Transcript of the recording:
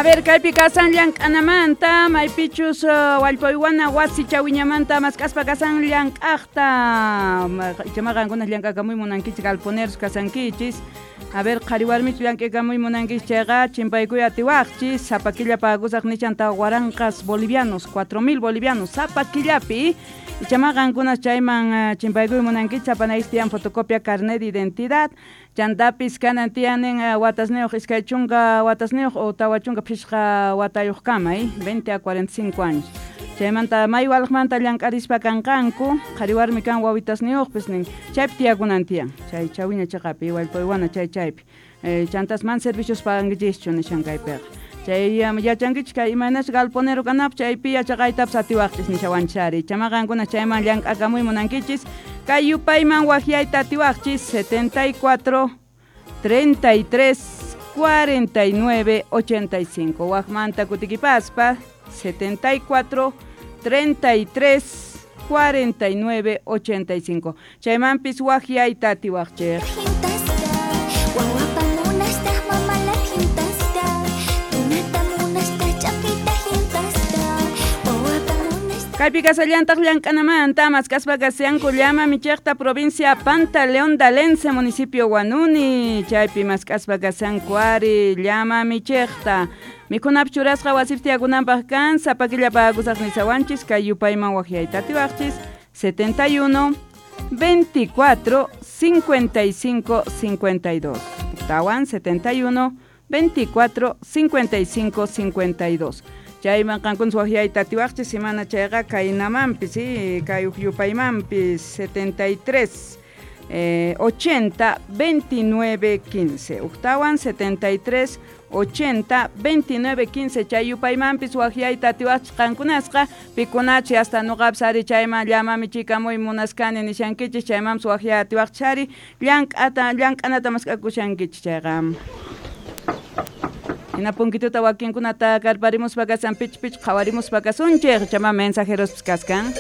A ver, kaypi kasan llank'anamanta, maypichus wallpaywana wasi chawiñamanta mask'aspa kasan llank'aqta. Ichama qankuna llank'akamuy munankichik galponeros kasankichis. A ver, qhari warmichu llank'akamuy munankichis chayqa chimpaykuy atiwaqchis, sapa killa pagusaq nichan 4000 bolivianos, 4000 bolivianos sapa killapi. Ichama qankuna chayman chimpaykuy munankichis, apanaykichis tiyan fotocopia carnet de identidad. Chantapis kanan tiyanin watasniyuq 20 watasniyuq o 45 watayuq kama, 20 a 45 años. Chaymanta may walqmanta llank'arispa kanqanku, qhari warmi kan wawitasniyuqpis nin, chaypi tiyakunan tiyan, chay chawiña chiqapi, wallpaywana chay chaypi. Chantas man servicios pagankichischu nishan kaypiqa. Chay yachankichis kay imaynas galponero kanapaq chaypi yachaqaytapas atiwaqchis nishawanchari. Chama qankuna chayman llank'akamuy munankichis, kay yupayman wajyayta atiwaqchis 74 33 49 85. Wajmanta kutikipaspa 74 33 49 85. Chaymanpis wajyayta atiwaqchis. Kaypi kasallantaq llank'anamanta mask'aspa kasyanku llama michiqta provincia Pantaleón Dalense municipio Huanuni chaypi mask'aspa kasyanku ari llama michiqta mikhunapi churasqa wasipi tiyakunanpaq kan sapa killa pagakusaq nisawanchis kay yupayman waqyayta atiwaqchis 71 24 55 52 tawan 71 24 55 52. Chayman qankuna waqyayta atiwaqchis semana chayqa kaynamanpis, kay ukyupaymanpis 73 80 29 15. Uktawan 73 80 29 15 chay yupaymanpis waqyayta atiwaqchis qankunasqa pikunachi hasta nuqapis ari chayman llamami chikamuy munaskani nishankichis chaymanpis waqyay atiwaqchis ari llank'anata mask'akushankichis chayqa. Hina punkituta wakinkunata karparimuspa kasan pich pich qhawarimuspa kasunchik chama mensajeros kaskan.